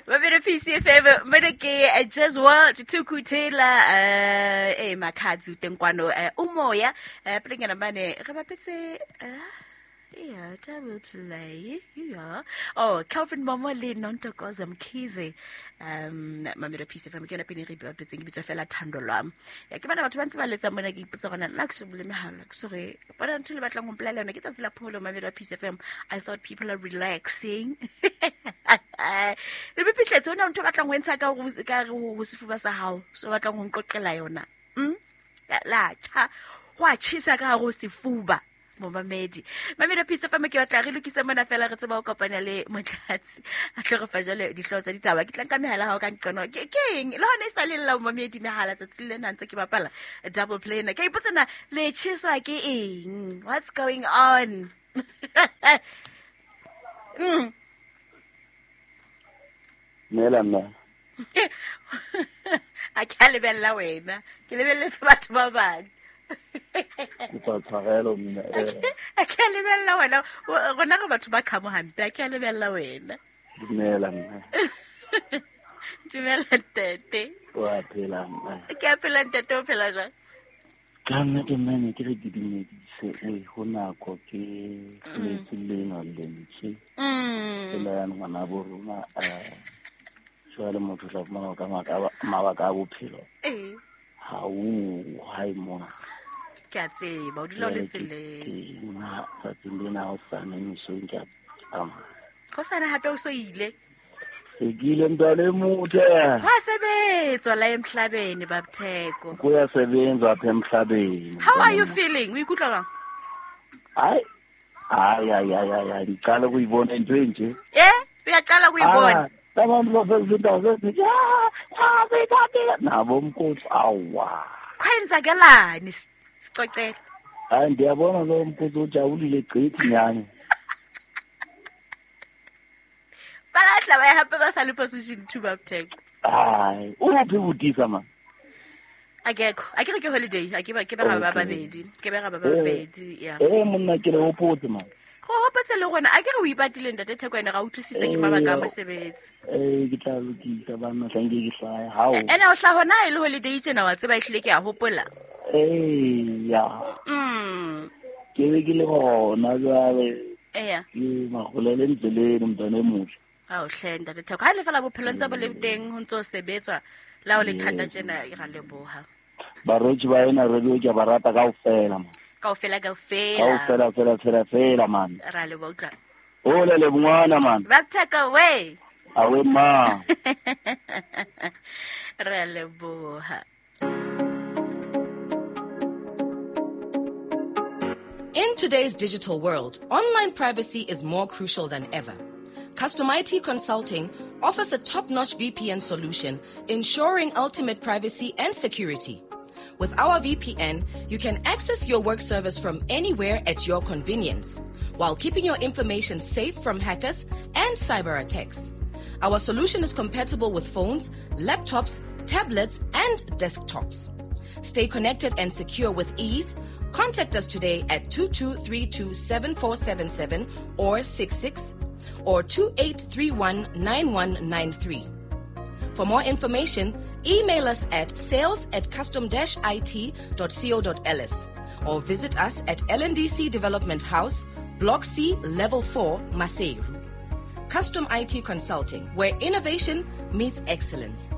Babele PCFM mene ke Jazz World Thukuthela eh Makhadzi teng kwano umoya pelenyana mane re bapetse yeah, double play. Yeah. Oh, Calvin Momo le Nontokozo Mkhize. Mamelo PCFM ke yona pele re bapetseng ke bitsa fela Thando lwam. Ya ke bana batho ba ntse ba letsa mona ke ipotsa gona nna ke se bule mehala ke sore bona ntho le batlang go mpolelela yona ke tsatsi la phomolo Mamelo PCFM. I thought people are relaxing. Le bepitletse ona ntho batlang go entsha ka ka ho sefuba sa hao so batlang go nqoqela yona. La cha go a chisa ka go sefuba. Momamedi mamedi phisa fa ke batla re lokise mona fela re tseba go kopana le motlatsi a tle re fa jale dihlooho tsa ditaba ke tlang ka mehala hao ka nqono ke eng le hona e sa le lla momamedi mehala tsatsi le na ntse ke bapala double play na ke ipotsa na le tjheswa ke eng, what's going on? Mela mme. A ke a lebella wena, ke lebelletse batho ba bang. Kopa tshwarelo mme. A ke a lebella wena, rona re batho ba khamo hampe, a ke a lebella wena. Dumela mme. Dumela ntate. Wa phela mme? Ke a phela ntate, o phela jwang? Ka nnete mme ne ke re ke dumedise e ho nako ke letse lena lentswe. Tsela ya ngwana bo rona jwale motho tla fumana ka mabaka a bophelo. Ha o hae mona. Ke a tseba, o dula o le tseleng. Tsatsing lena ha o sane mesong ke a tsamaya. Ho sane hape o so ile? Se ke ile mntwana e motle. Hwa sebetswa la emhlabeni Babtheko. Kuyasebenzwa apha emhlabeni. How are you feeling? O ikutlwa jwang? Ai. Ai ai ai ai ai ngiqala ukuyibona into enje. Uyaqala ukuyibona? Abantu basezindawo sezithi nabo mkhosi awa. Kwenzakalani sixoxele? Hayi ndiyabona lo mkhosi ujabulile gqithi nyani. Balatla ba hape ba sa le position 2 Babtheko. Hayi, uphi butisa man? Akekho, akere ke holiday, a ke ba ke ba ba babedi, ke ba ba babedi, yeah. Monna ke le hopotse man. Go hopotse le gona, a ke re o ipatile ntate Theko ene ga utlwisise ke mabaka a mosebetsi. Ke tla lokisa bana hlanke ke hlae. Hao. Ene o hla hona e le holiday tjena wa tseba ehlile ke a hopola. Ya. Ke be ke le gona jwale. Eya. Ke magolele ndleleng mntwana e motle. Ao hle ntate Theko, ha le fela bophelo ntse bo le teng ho ntse o sebetswa la o le thata tjena ra leboha. Barotsi ba ena radio ke ba rata kaofela man. Kaofela kaofela. Kaofela fela fela fela man. Ra leboha utlwa. O le le ngwana man. Babtheko we. Awe ma. Ra leboha. In today's digital world, online privacy is more crucial than ever. Custom IT Consulting offers a top-notch VPN solution, ensuring ultimate privacy and security. With our VPN, you can access your work service from anywhere at your convenience, while keeping your information safe from hackers and cyber attacks. Our solution is compatible with phones, laptops, tablets, and desktops. Stay connected and secure with ease. Contact us today at 2232-7477 or 66 or 2831-9193. For more information, email us at sales@custom-it.co.ls or visit us at LNDC Development House, Block C, Level 4, Maseru. Custom IT Consulting, where innovation meets excellence.